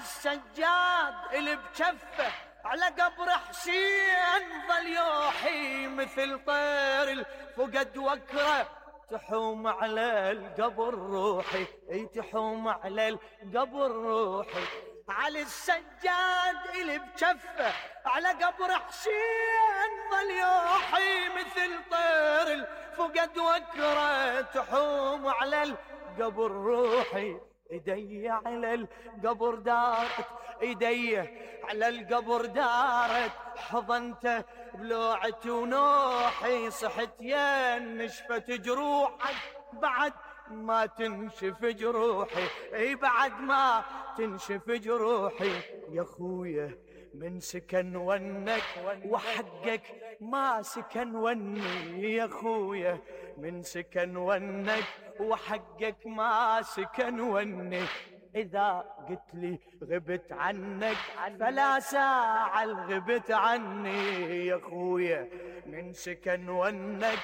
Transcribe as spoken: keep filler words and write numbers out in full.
السجاد اللي بجفه على قبر حسين ظل يوحي مثل طير الفقد وكره تحوم على القبر روحي، اي تحوم على القبر روحي. على السجاد اللي بجفه على قبر حسين ظل يوحي مثل طير الفقد وكره تحوم على القبر روحي. ايدي على القبر دارت، ايدي على القبر دارت، حضنته بلوعتي ونوحي. صحت يا نشفت جروحك بعد ما تنشف جروحي، اي بعد ما تنشف جروحي. يا خويا من سكن ونك وحقك ما سكن وني، يا خويا من سكن ونك وحقك ما سكن وني. إذا قلت لي غبت عنك فلا ساعة غبت عني، يا خويا من سكن ونك